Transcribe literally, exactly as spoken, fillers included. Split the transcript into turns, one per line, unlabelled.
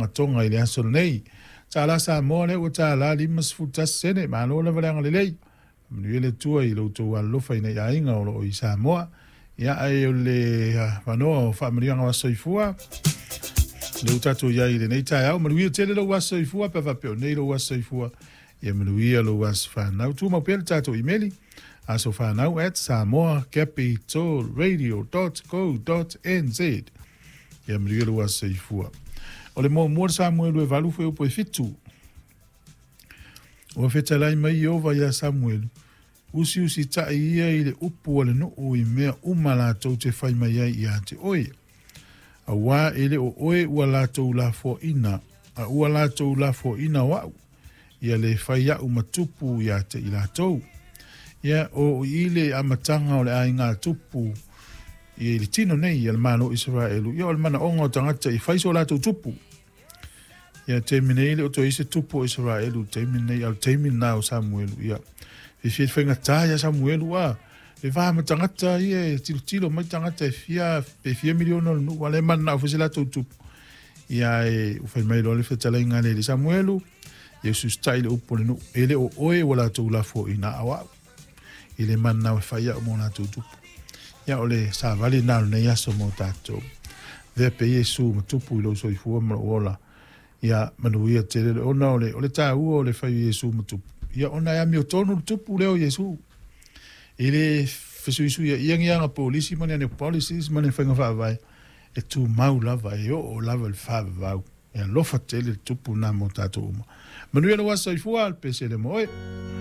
Toga i le aso lenei. Tala Samoa lea ua tala lima sefulu tasi sene, malo lava le agalelei. Manuia le Atua i lo outou alolofa i nei aiga o loo i Samoa. Ia ae o le avanoa o faamanuiaga o aso soifua le ua tatou iai i lenei taeao. Manuia tele lou aso soifua pe faapea o nei lou aso soifua. Ia manuia lou aso fanau. Tumau pea le tatou imeli asofanau at samoa capital radio dot co dot nz. Ia manuia lou aso soifua. O le muamua le Samuelu e valu foi upu e fitu. Ua fetalai mai Ieova iā Samuelu, usiusitai ia i le upu a le nuu i mea uma latou te fai mai ai ia te oe. Auā e le o oe ua latou lafoaina, a ua latou lafoaina o au, ia le fai a'u ma tupu ia te i latou. Ia o i le amataga o le aiga tupu ia i le tino nei ia le Malo o Isaraelu, ia o le manaoga o tagata i fai so latou tupu. Ia taimi nei le o toe i se tupu o Isaraelu taimi nei, a o le taimi lena o Samuelu, ia fiafia faigata ia Samuelu a le va ma tagata ia e tilotilo mai tagata e fia pe fia miliona o le nuu, a le mananao foi se latou tupu. Ia e ua fai mai loa le fetalaiga a le Samuelu, ia usiusitai le upu o le nuu, e le o oe ua latou lafoaina a o au i le mananao e fai au mo latou tupu. Ia o le savali lena o lenei aso mo tatou. Vea pe Iesu ma tupu i lou soifua ma lou ola. Ia manuia tele le ona o le, o le tāua o le fai o Iesu ma tupu. Ia ona e amiotonu le tupu lea o Iesu. E le fesuisuia ia ni aga polisi ma ni ane policies ma ni faiga faavae. E tumau lava, e oo lava le faavavau. E alofa tele le tupu na mo tatou uma. Manuia lou aso soifua, le pesele mo oe.